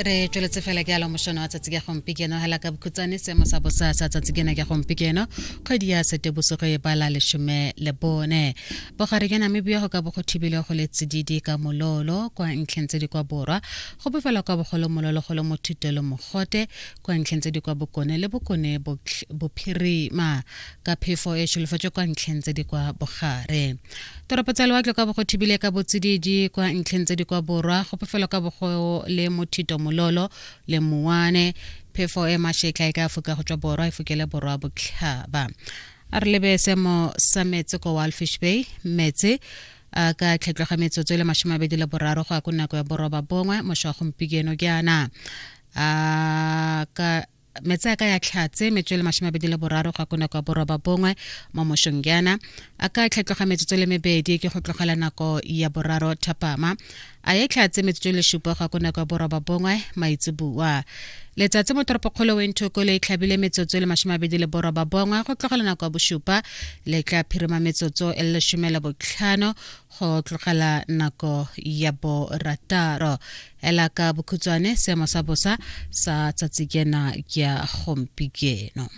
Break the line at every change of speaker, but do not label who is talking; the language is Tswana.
Re tsweletse fela ke alo mošono wa tsatsi ka gompieno. Hela ka bokhutsane seemo sa bosa sa tsatsi kena ke gompieno, kgwedi ya Setebosigo e bala 14. Bogare jwa Namibia go ka bo go thibile go le tsididi ka mololo kwa ntlheng tse di kwa borwa, go bofela kwa bogolo mololo go le mothito le mogote kwa ntlheng tse di kwa bokone le bokone bophirima, ka phefo e solofetswe kwa ntlheng tse di kwa bogare. Toropo tsa lewatle kwa bogo thibile ka botsididi kwa ntlheng tse di kwa borwa, go phefelo ka bogo le mothito mololo le mowane. Phefo e mashetla e ka foka go tswa borwa e fokele borwa botlhaba. A re lebe seemo sa metsi ko Walfish Bay. Metsi a ka tlhatloga metsotso e le 23 go ya ko nako ya 9 mošwa wa gompieno jaana. A ka metsi a ka ya tlhatse metsotso e le 23 go ya ko nako ya 9 mo mošong jaana. A ka tlhatloga metsotso le mebedi ke go tlogela nako ya 3 thapama, a ye tlhatse metsotso e le 7 go ya ko nako ya 9 maitseboa. Letsatsi mo toropokgolo Windhoek le tlhabile metsotso e le 29 go tlogela nako ya 7, le tla phirima metsotso e le 15 go tlogela nako ya 6. Ela ka bokhutshwane seemo sa bosa sa tsatsi kena ya gompieno.